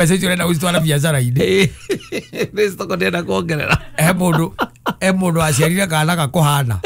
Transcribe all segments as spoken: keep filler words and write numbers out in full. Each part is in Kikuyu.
Mbeca icio ũrenda gũcitwara biacara-inĩ. Nĩ stoko ndĩrenda kuongerera. He mũndũ he mũndũ aciarire kana gakũhana.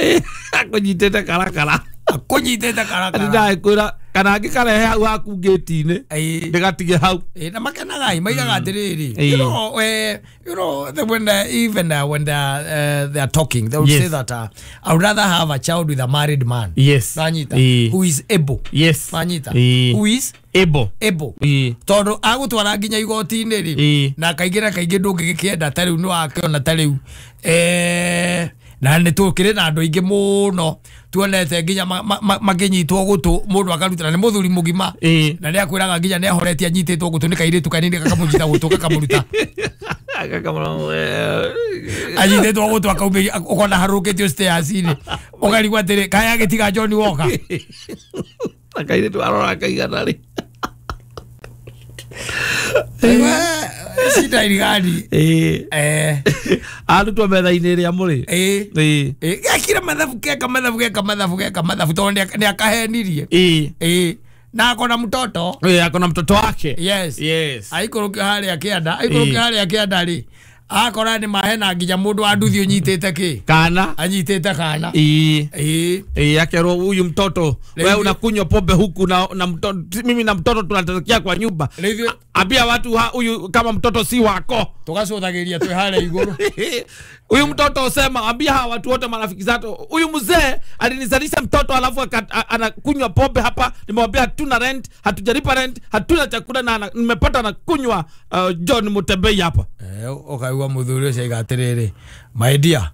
Akũnyitĩte karakara. Akũnyitĩte karakara. Ndĩrakwĩra kana angĩkarehe hau haku ngĩti-inĩ ndĩgatige hau. Eh, na makenaga maigaga atĩrĩrĩ, you know, eh, you know the, when uh, even uh, when they are, uh, they are talking they would Yes. say that uh, I would rather have a child with a married man. Yes. Nanyita, Eh. who is able. Yes. Nanyita, Eh. who is able. Able. Eh. Tondu agutwara nginya igoti-inĩ rĩ, Eh. na kaingĩ na kaingĩ ndũngĩgĩkĩenda ta rĩu nĩwakĩona ta rĩu eh, na nĩ tũkĩrĩ na andũ aingĩ mũno tuonete nginya makĩnyitwo gũtũ mũndũ akarutana nĩ mũthuri mũgima Eh. na nĩ akwĩraga nginya nĩ ahoretie anyitĩtwo gũtũ nĩ kairĩtu kanini gakamũnyita gũtũ gakamũruta anyitĩtwo gũtũ akaumĩria ũkona harũkĩtio stairs-inĩ ũkarigwo atĩrĩ kaĩ agĩtiga John Walker na kairĩtu arora kaigana rĩ. Shida irigani. Eh. Eh. Arutwo metha-inĩ ĩrĩa mũrĩ. Eh. Eh. Eh, gekire mathabu keka mathabu geka mathabu geka mathabu tondu nĩ akahenirie. Eh. Eh. Na akona mtoto. Eh, akona mtoto wake. Yes. Yes. Aikũrũkio harĩa kĩanda, aikũrũkio harĩa kĩanda rĩ. Akora nĩ mahena nginya mũndũ wa nduthi ũnyitĩte kĩ? Kana. Anyitĩte kana. Eh. Eh. Eh, akerwo huyu mtoto wewe unakunywa pombe huku na, na mtoto, mimi na mtoto tunaterekea kwa nyumba. Rĩu Ambia watu huyu kama mtoto si wako. Tukacũthagĩria twĩ harĩa igũrũ. Huyu mtoto usema ambia hawa watu wote marafiki zako huyu mzee alinizalisha mtoto alafu anakunywa pombe hapa, nimemwambia hatuna rent, hatujalipa rent, hatuna chakula na nimepata anakunywa uh, John Mutembei hapa. Eh, ukaigua muthuri ũcio aiga atĩrĩrĩ, my dear,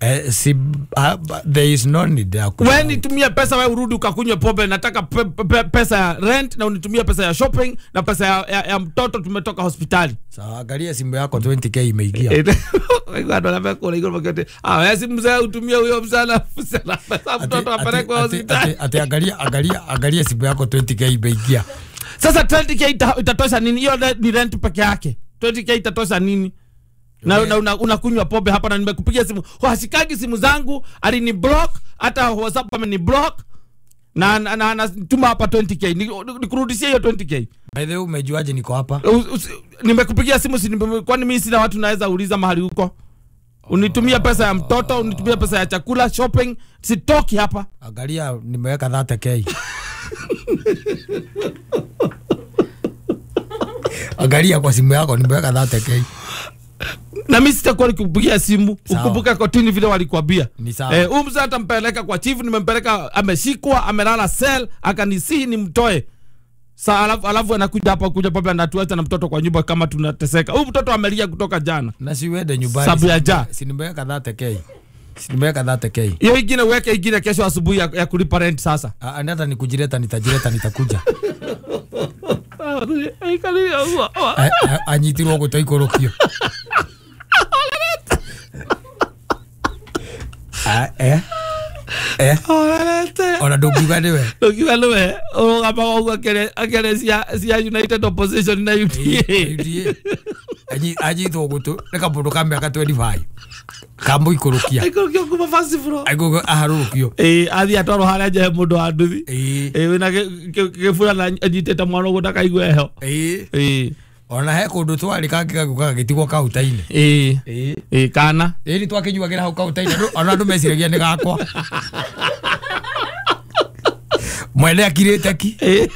eh, si, uh, there is no need ya ku- Wewe nitumie pesa wewe urudi ukakunywe pombe, nataka pe, pe, pesa ya rent na unitumie pesa ya shopping na pesa ya, ya, ya mtoto tumetoka hospitali. Sawa, angalia simu yako twenty k imeingia. Wewe ndo anambia kule iko mkate. Ah, wewe si mzee utumie huyo msana msana pesa mtoto apelekwe hospitali. Ati angalia angalia angalia simu yako twenty k imeingia. Sasa twenty k ita, itatosha nini? Hiyo ni rent peke yake. twenty k itatosha nini? Na una, unakunywa pombe hapa na nimekupigia simu. Hashikagi simu zangu, alini block, hata WhatsApp ameni block. Na na anatuma hapa twenty k. Nikurudishie hiyo twenty k. By the way, umejuaje niko hapa? Nimekupigia simu si kwani mimi sina watu naweza uliza mahali huko. Unitumia pesa ya mtoto, unitumia pesa ya chakula, shopping, sitoki hapa. Angalia nimeweka thirty k. Angalia kwa simu yako nimeweka thirty k. Na mimi sitakuwa nikupigia simu. Ukumbuka kotini vile walikwambia. Eh, huyu mzee atampeleka kwa chief, nimempeleka ameshikwa, amelala cell, akanisihi nimtoe. Sa alafu alafu anakuja hapa kuja papa anatuacha na mtoto kwa nyumba kama tunateseka. Huyu mtoto amelia kutoka jana. Na si uende nyumbani. Sababu ya ja. Si nimeweka thirty k. Si nimeweka thirty k. Hiyo ingine uweke ingine kesho asubuhi ya, ya kulipa rent sasa. Ah, hata nikujileta nitajileta nitakuja. Anyitirwo gũtoikũrũkio. Ah, eh. Eh. Ona ndũngiuga nĩwe. Ndũngiuga nĩwe. Ũrũgamaga ũguo akĩaria cia cia United Opposition na U D A. U D A. Anyitwo gũtũ nĩ kamũndũ ka mĩaka twenty-five. Kamũikũrũkia. Aikũrũkio kuma first floor. Aikũrũkio aharũrũkio. Eh, athiĩ atwarwo harĩa nja he mũndũ wa nduthi. Eh. Eh, wĩna gĩbura na anyitĩte mwana ũguo ndakaigue heho. Eh. Eh. Ona he kũndũ twarĩ kangĩ gagũka gagĩtigwo kaunta-inĩ. Eh. Eh. Eh, kana. Ĩĩ nĩ twakĩnyuagĩra hau kaunta-inĩ ona andũ meciragia nĩ gakwa. Mwene akirĩte ki. Eh.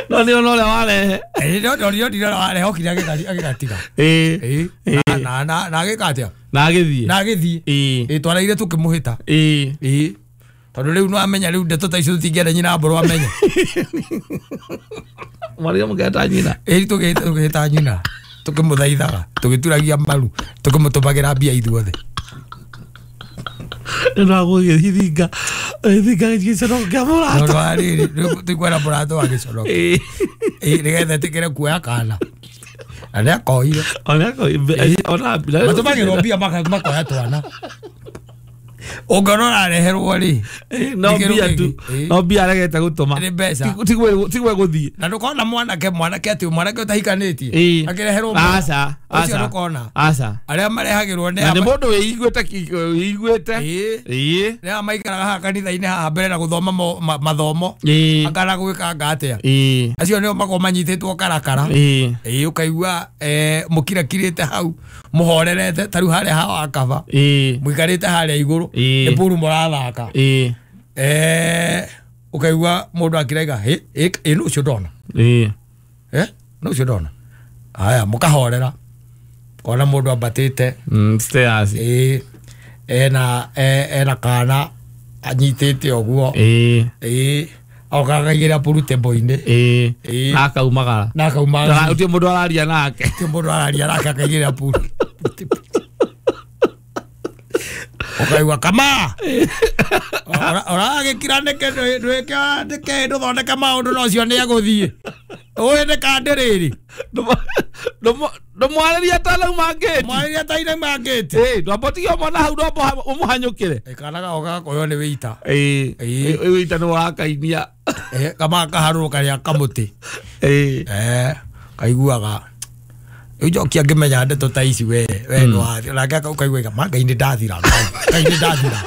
No nĩ ona ũrĩa warehe. Eh, no no no no warehe okire agĩgatiga. Eh. Eh. Na na na agĩka atĩa? Na agĩthiĩ. Na agĩthiĩ. Eh. Eh, twaraire tũkĩmũhĩta. Eh. Eh. Tondũ rĩu no amenya rĩu ndeto ta icio tũtingĩenda nyina mbũrũ amenye. Mwaria mũketa nyina. Ĩĩ tũkĩhĩta nyina. Tũkĩmũthaithaga, tũgĩturagia maru, tũkĩmũtũmagĩra mbia ithuothe. Nĩndagũgĩthinga thinga gĩconoko kĩa mũrata. No rĩrĩ, tũkwenda mũrata wa gĩconoko. Ĩĩ. Ĩĩ nĩgetha ĩtĩkĩre kuoya kana. Na nĩakoire. Ona nĩakoire. Ona matũmagĩrwo mbia makoya twana. Ũngĩona ũrareherwo rĩ no mbia tu no mbia aregete gũtũma nĩ mbeca tigwe gũthiĩ na ndũkona mwanake mwanake atĩ mwanake ũtahikanĩtie akĩreherwo aca aca ndũkona aca arĩa marehagĩrwo nĩ nĩ mũndũ wĩiguĩte wĩiguĩte ĩĩ nĩ aya maikaraga haha kanitha-inĩ haha mbere na gũthoma mathomo akana gwĩkanga atĩa acio nĩo makoragwo manyitĩtwo karakara ĩĩ ũkaigua mũkirakirĩte hau mũhorerete ta rĩu harĩa haha wakaba mũikarĩte harĩa igũrũ nĩ puru mũrathaka eh ũkaigua mũndũ akĩraiga ĩ nũ ũcio ndona eh nũ ũcio ndona haya mũkahorera kona mũndũ ambatĩte stairs ĩ ena ena kana anyitĩte ũguo ĩ okagaigĩra puru table-inĩ ĩ na akaumagara na akaumagara gũtirĩ mũndũ araria nake gũtirĩ mũndũ araria nake akaigĩra puru ukaigua kama ũragĩkira nĩkĩ nĩkĩ ndũthondeke maũndũ na ũcio nĩegũthiĩ ũĩ nĩ kandi rĩrĩ ndũmwarĩria atanauma ngĩti mwarĩria atanauma ngĩti ĩ ndwambotige mwana hau ndwamba ũmũhanyũkĩre kana gaoka gakoywo nĩ wĩita ĩ wĩita nĩ wakainia kama kaharũrũka rĩa kamũtĩ kaiguaga rĩu njoki angĩmenya ndeto ta ici we we nĩwathi nake ũkaigua ma Ngai nĩ ndathira Ngai nĩ ndathira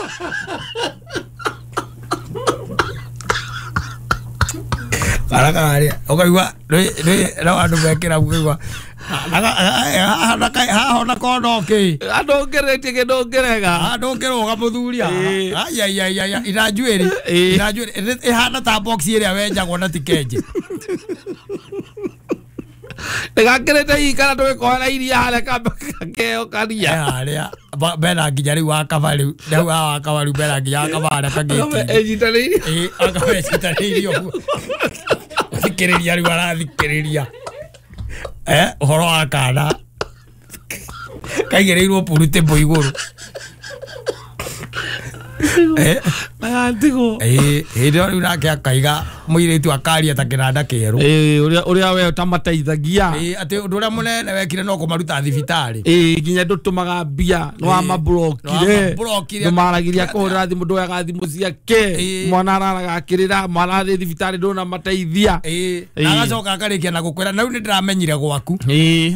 karaka ũkaigua no andũ mekĩra ũkaigua haha ona kono kĩ andũ ngeretie kĩndũ ngĩrega andũ ngĩrũga mũthuri aiaiaia ina njuĩrĩ ina njuĩrĩ ĩhana ta box ĩrĩa wenjagwo na ti kenje ndĩgakĩrĩte hihi kana tũgĩkoera iria harĩa kambe gakeo karia harĩa bena nginya rĩu wakaba rĩu rĩu haha wakaba rĩu bena nginya wakaba harĩa kagĩti ĩnyitanĩirie ĩ akaba ĩnyitanĩirie ũguo thikĩrĩria rĩu arathikĩrĩria eh ũhoro wa kana kaigĩrĩirwo purutĩmbo igũrũ eh nagantigwo ĩ hĩndĩ ĩyo rĩu nake akaiga mũirĩtu akaria ta kĩnanda kĩerũ ĩ ũrĩa ũrĩa we ũtamateithagia ĩ atĩ ũndũ ũrĩa mũnene wekire no kũmaruta thibitarĩ ĩ nginya ndũtũmaga mbia nĩ wamablokire ndũmaragĩria kũhũrĩra thimũ ndwoyaga thimũ ciake mwana araraga akĩrĩra mwana arĩ thibitarĩ ndũnamateithia ĩ na agacoka akarĩkia na gũkwĩra na rĩu nĩ ndĩramenyire gwaku ĩ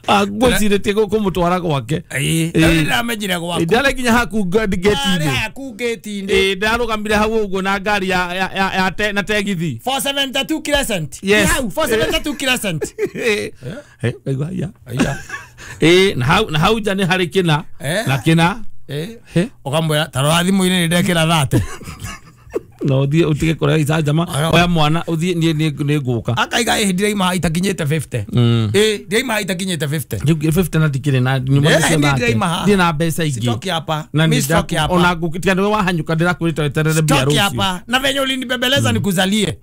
ngwĩcirĩtie kũmũtwara gwake ĩ ndĩramenyire gwaku ndarĩ nginya haku ngĩti-inĩ haku ngĩti-inĩ ĩ ndarũgamire hau ũguo na ngari ya ya na tegithi four seventy-two Crescent yes hau four seventy-two Crescent eh kaigua haya ĩ na hau na hau nja nĩ harĩ kĩna na kĩna ĩ ũkamwĩra ta rora thimũ-inĩ nĩ ndekĩra thate no ũthiĩ ũtige kũrĩa icanjama oya mwana ũthiĩ niĩ nĩ ngũka akaiga ĩ ndiraima itakinyĩte fifty ĩ ndiraima itakinyĩte fifty fifty na ndikĩrĩ na nyuma nicio ndirĩ na mbeca ingĩ sitoki hapa na mimi sitoki hapa ona ngũtiga nĩwe wahanyũka ndĩrakwĩrĩte weterere mbia sitoki rũciũ hapa na venye ulinibembeleza nikuzalie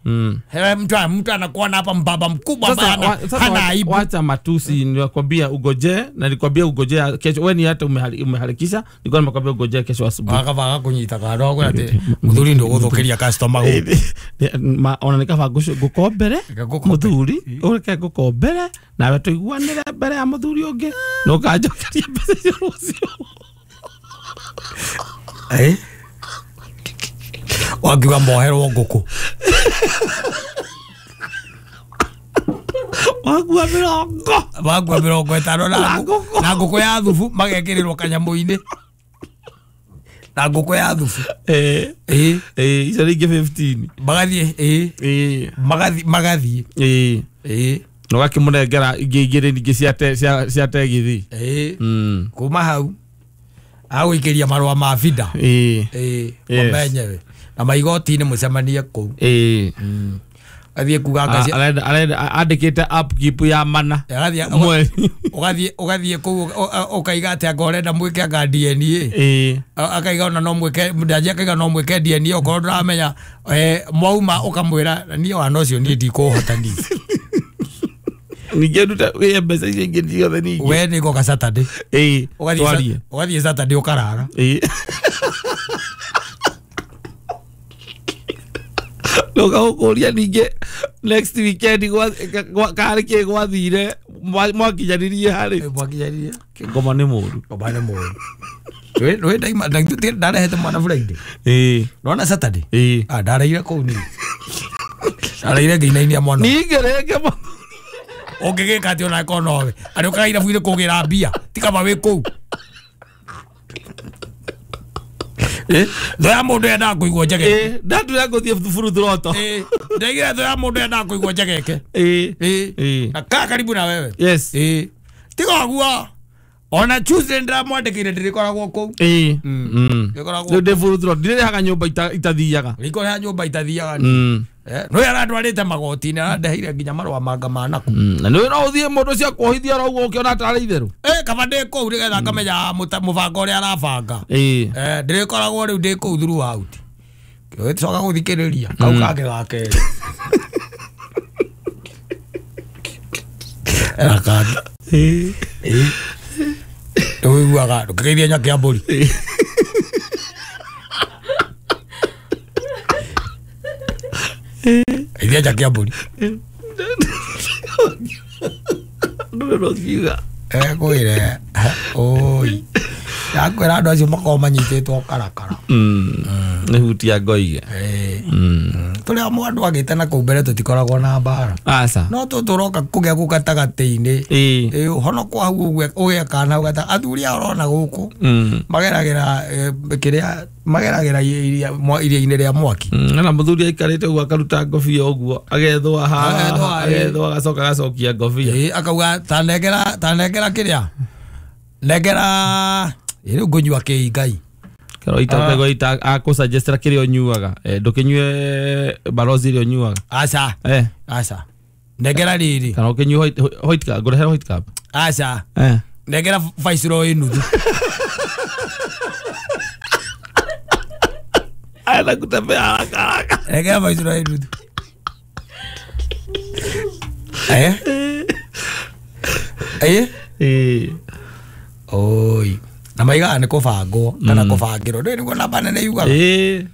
mtu mtu anakuona hapa mbaba mkubwa bana hana aibu wacha matusi nilikwambia ugoje na nilikwambia ugoje kesho wewe ni hata umeharakisha nilikuwa nimekwambia ugoje kesho asubuhi akavaga kunyita karo atĩ mũthuri ndũgũthũkĩria customer ma ona nikaba ngukombere muthuri ureke ngukombere nawe tuiguanire mbere ya muthuri ungi no ukanjokeria mbeca icio rũciũ eh wakiuga moherwo ngũkũ wakua mĩrongo wakua mĩrongo ĩtano na ngũkũ ya thubu magekĩrĩrwo kanyamũ-inĩ na ngũkũ ya thubu eh eh eh icio rĩngĩ fifteen magathiĩ eh eh magathiĩ magathiĩ eh eh no gakĩmũnengera ingĩ igĩrĩ ningĩ cia cia cia tegithi eh mm kuma hau agũikĩria marũa ma bida eh eh mamenyewe na maigoti-inĩ mũcemanie kũu eh athiĩ kuga ngaci arenda arenda andĩkĩte upkeep ya mana agathiĩ ũgathiĩ ũgathiĩ kũu ũkaiga atĩ anga ũrenda mwĩke anga D N A eh akaiga ona no mwĩke ndanjia akaiga no mwĩke D N A okorwo ndũramenya mwauma ũkamwĩra niĩ wana ũcio niĩ ndikũhota niĩ ningĩ nduta wĩye mbeca icio ingĩ ciothe ningĩ we nĩ ngoka Saturday ĩĩ ũgathiĩ ũgathiĩ Saturday ũkarara ĩĩ Ndoka gũkũria ningĩ next weekend karĩ kĩ gwathire mwakinyanirie harĩ mwakinyanirie ngoma nĩ mũru ngoma nĩ mũru we we ndaima ndarehete mwana Friday eh nona Saturday eh ah ndareire kũu ni ndareire ngĩinainia mwana ningĩ rĩngĩ ũngĩgĩka atĩ ona korwo nowe arĩ ũkaga irabu-inĩ kũgĩra mbia ti kaba wĩ kũu eh thũ ya mũndũ yendaga kũigwo njegeke eh ndatura ngũthiĩ thuburu thuroto eh ndaigire thũ ya mũndũ yendaga kũigwo njegeke eh eh na kaa karibu na wewe yes eh tiga ũguo ona Tuesday ndĩramwandĩkĩire ndĩrĩkoragwo kũu eh mm ndĩkoragwo rĩu ndĩ buru throto ndirĩhaga nyũmba itathiaga ndĩrĩhaga nyũmba itathiaga mm eh no yarandwarĩte magoti-inĩ arandeheire nginya marũa manga manaku na nĩ no ũthiĩ mũndũ ũcio akuohithia oro ũguo ũkĩona tarĩ itherũ eh kaba ndĩ kũu nĩgetha ngamenya mũbango ũrĩa arabanga eh eh ndĩrĩkoragwo rĩu ndĩ kũu throughout coka gũthikĩrĩria kau kangĩ ga kerĩ era kangĩ eh eh ndũiguaga ndũkĩgeithia nyake ya mbũri geithia nyake ya mbũri ndũrũthiuga ekwĩre oi ndakwĩra andũ acio makoragwo manyitĩtwo karakara nĩ hutia ngoige tũrĩa andũ agĩte na kũu mbere tũtikoragwo na mbara aca no tũtũroka kũgĩa kũu gatagatĩ-inĩ honokwo hau ũguo ũgĩe kana hau gata athuri aya ũrona gũkũ mageragĩra kĩrĩa mageragĩra iria-inĩ rĩa mwaki na mũthuri aikarĩte ũguo akaruta ngobia ũguo agethũa haha agethũa agacoka agacokia ngobia akauga ta nengera ta nengera kĩrĩa nengera rĩu ngũnyua kĩi Ngai kero ita ita akũsuggestera kĩrĩa ũnyuaga ndũkĩnyue barozi ĩrĩa ũnyuaga aca eh aca nengera rĩrĩ kana ũkĩnyue white white cup ngũrehere white cup aca eh nengera Viceroy nuthu aenda kutembea haraka haraka nengera Viceroy nuthu eh eh eh oi na maigaga nĩ kũbangwo kana kũbangĩrwo ndũĩ nĩguo namba nene yugaga ĩĩ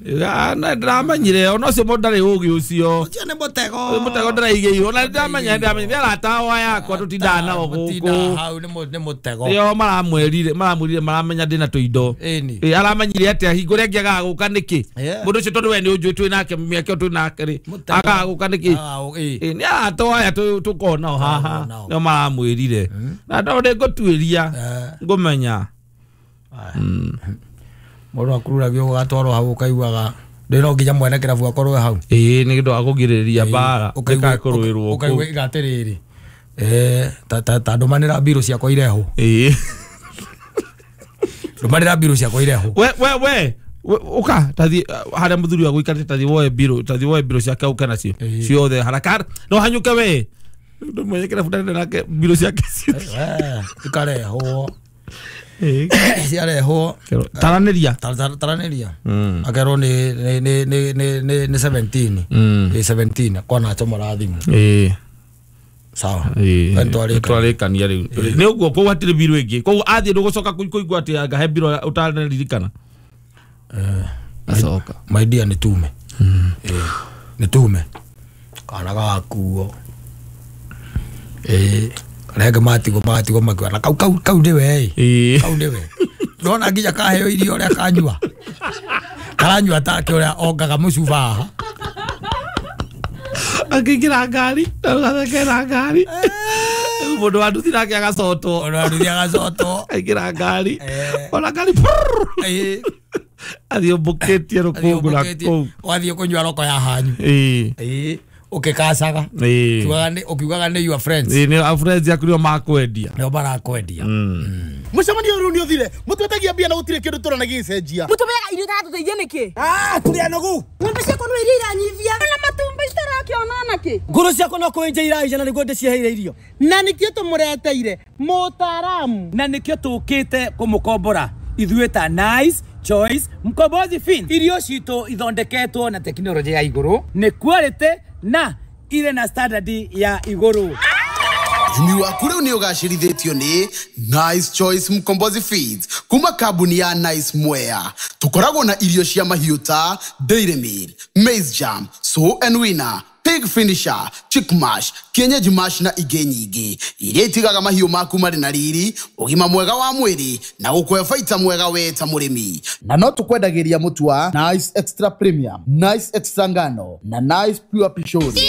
ndĩramanyire ona ũcio mũndũ ndarĩ ũgĩ ũcio ũcio nĩ mũtego mũtego ndĩraigĩirwo na ndĩramenya ndĩramenya nĩ arata ao yakwa tũtindaga nao gũkũ hau nĩ mũtego ĩyo maramwĩrire maramwĩrire maramenya ndĩna tũindo ĩni aramenyire atĩa hingo ĩrĩa angĩagaga gũka nĩkĩ mũndũ ũcio tondũ we nĩ ũnjũĩ twĩ nake mĩaka ĩyo twĩ nake rĩ agaga gũka nĩkĩ nĩ arata aya tũkoragwo nao haha nĩo maramwĩrire na tondũ ndĩngũtuĩria ngũmenya mũndũ akururagio ũgatwarwo hau ũkaiguaga ndĩ no nginya mwene kĩrabu akorwo hau ĩĩ nĩ ũndũ wa kũgirĩrĩria mbara ĩkakũrũĩrwo ũkaigua iga atĩrĩrĩ eh ta ta ndũmanĩra mbirũ ciakwa irehwo ĩĩ ndũmanĩra mbirũ ciakwa irehwo we we we ũka tathi harĩa mũthuri wa gũikarĩte tathi woe mbirũ tathi woe mbirũ ciake ũke nacio ciothe haraka no hanyũke we mwenye kĩrabu ndarĩ nake mbirũ ciake ciothe ikarehwo ciarehwo taranĩria taranĩria akerwo nĩ nĩ nĩ nĩ nĩ nĩ seventeen ĩ seventeen kwana acomora thimũ ĩĩ sawa twarĩkania rĩu nĩ ũguo kũu hatirĩ mbirũ ĩngĩ koguo athiĩ ndũgũcoka kũigua atĩ angahe mbirũ ũtanaririkana acoka my dear nĩ tume nĩ tume kana gakuo ĩĩ rege matigwo matigwo makiwa na kau kau kau nĩwe ĩ kau nĩwe ndona nginya kaheo irio ũrĩa kanyua karanyua take ũrĩa ongaga mũcuba haha akĩingĩra ngari agathekera ngari mũndũ wa nduthi nake agacotwo mũndũ wa nduthi agacotwo aingĩra ngari ona ngari athiĩ ũmbũkĩtie rũkũngũ na kũu wathiĩ kũnyua roko ya hanyu ĩĩ ũkĩkacaga ũkiugaga nĩ your friends ĩĩ nĩ friends yaku nĩo makwendia nĩo marakwendia mũcemanio ũyũ nĩ ũthire mũtwetagia mbia na gũtirĩ kĩndũ tũrona gĩgĩcenjia mũtũmeaga irio itatũteithia nĩkĩ ah tũrĩ anogu ng'ombe ciakwa no iria iranyivia na matumbĩ itarakĩona nakĩ ngũrũ ciakwa no kũenja iraija na nĩguo ndĩciheire irio na nĩkĩo tũmũreteire mũtaaramu na nĩkĩo tũkĩte kũmũkombora ithuĩ ta Nice Choice Mkombozi Fin irio citũ ithondeketwo na tekinoronjĩ ya igũrũ nĩ quality na ire na standard ya igũrũ Ũrĩmi waku rĩu nĩ ũgacĩrithĩtio nĩ Nice Choice Mkombozi Feeds kuma kambuni ya Nice Mwea. Tũkoragwo na irio cia mahiũ ta dairy meal, maize jam, sow and winner, pig finisher, chick mash, kienyeji mash na ingĩ nyingĩ iria itigaga mahiũ maku marĩ na riri, ũgima mwega wa mwĩrĩ na gũkũhe baita mwega we ta mũrĩmi. Na no tũkwendagĩria mũtu wa Nice Extra Premium, Nice Extra Ngano na Nice Pure Pishori.